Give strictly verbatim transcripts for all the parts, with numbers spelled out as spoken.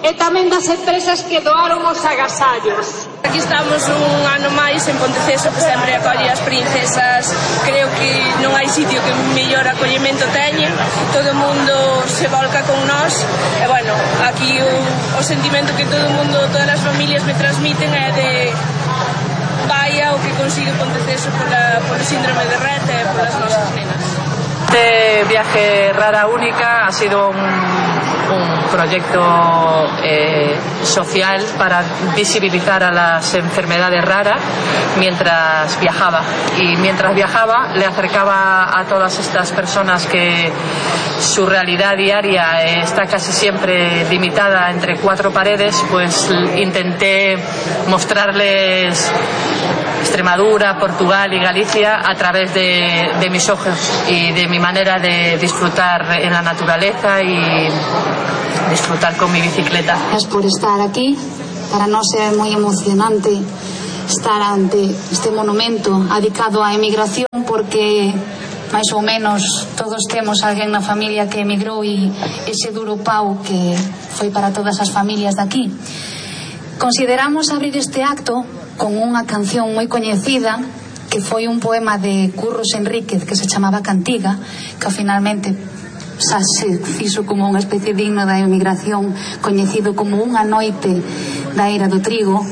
e tamén das empresas que doaron os agasallos. Aquí estamos un ano máis en Ponteceso, que sempre acolle as princesas. Creo que non hai sitio que mellor acollemento teñen, todo o mundo se volca con nós e, bueno, aquí o, o sentimento que todo o mundo, todas as familias me transmiten é de vaya o que consigue Ponteceso pola, polo síndrome de Rett e polas nosas nenas. Este viaje Rara Única ha sido un, un proyecto eh, social para visibilizar a las enfermedades raras mientras viajaba. Y mientras viajaba le acercaba a todas estas personas que su realidad diaria está casi siempre limitada entre cuatro paredes, pues intenté mostrarles Extremadura, Portugal y Galicia a través de, de mis ojos y de mi manera de disfrutar en la naturaleza y disfrutar con mi bicicleta. Gracias por estar aquí. Para nós é moi emocionante estar ante este monumento dedicado á emigración, porque máis ou menos todos temos alguén na familia que emigrou e ese duro pau que foi para todas as familias de aquí. Consideramos abrir este acto con unha canción moi coñecida que foi un poema de Curros Enríquez que se chamaba Cantiga, que finalmente xa se fixo como unha especie de himno da emigración, coñecido como Unha noite da era do trigo,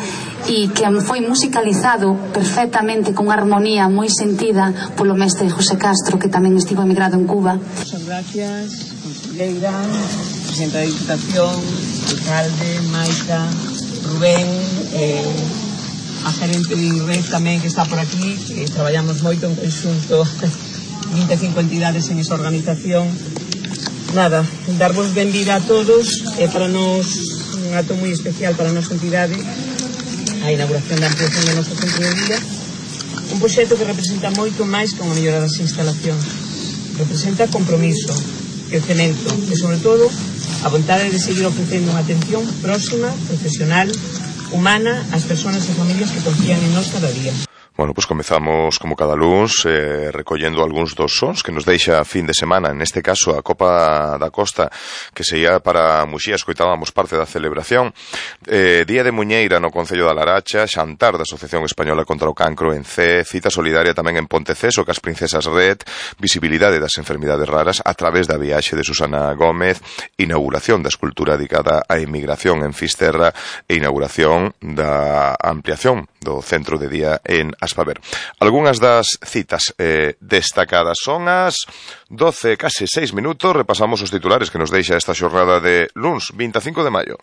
e que foi musicalizado perfectamente con armonía moi sentida polo mestre José Castro, que tamén estivo emigrado en Cuba. Muchas gracias, conselleira, presidenta da Diputación, alcalde, Maita, Rubén, eh, a gerente de I R E F tamén que está por aquí, que traballamos moito en conxunto, vinte e cinco entidades en esa organización. Nada, darvos benvida a todos, e para nós un acto moi especial para a nosa entidade, a inauguración da ampliación do noso centro de día, un proxecto que representa moito máis que unha mellora das instalacións, representa compromiso, crecemento e, sobre todo, a vontade de seguir ofrecendo unha atención próxima, profesional, humana ás persoas e familias que confían en nós cada día. Bueno, pues comezamos como cada luns eh, recollendo algúns dos sons que nos deixa a fin de semana, en este caso a Copa da Costa, que sería para Muxía, escoitábamos parte da celebración, eh, Día de Muñeira no Concello da Laracha, xantar da Asociación Española contra o Cancro en C, cita solidaria tamén en Ponteceso cas Princesas Rett, visibilidade das enfermidades raras a través da viaxe de Susana Gómez, inauguración da escultura dedicada á emigración en Fisterra e inauguración da ampliación do centro de día en Aspaver. Algúnas das citas eh, destacadas son as doce, case seis minutos. Repasamos os titulares que nos deixa esta xornada de luns vinte e cinco de maio.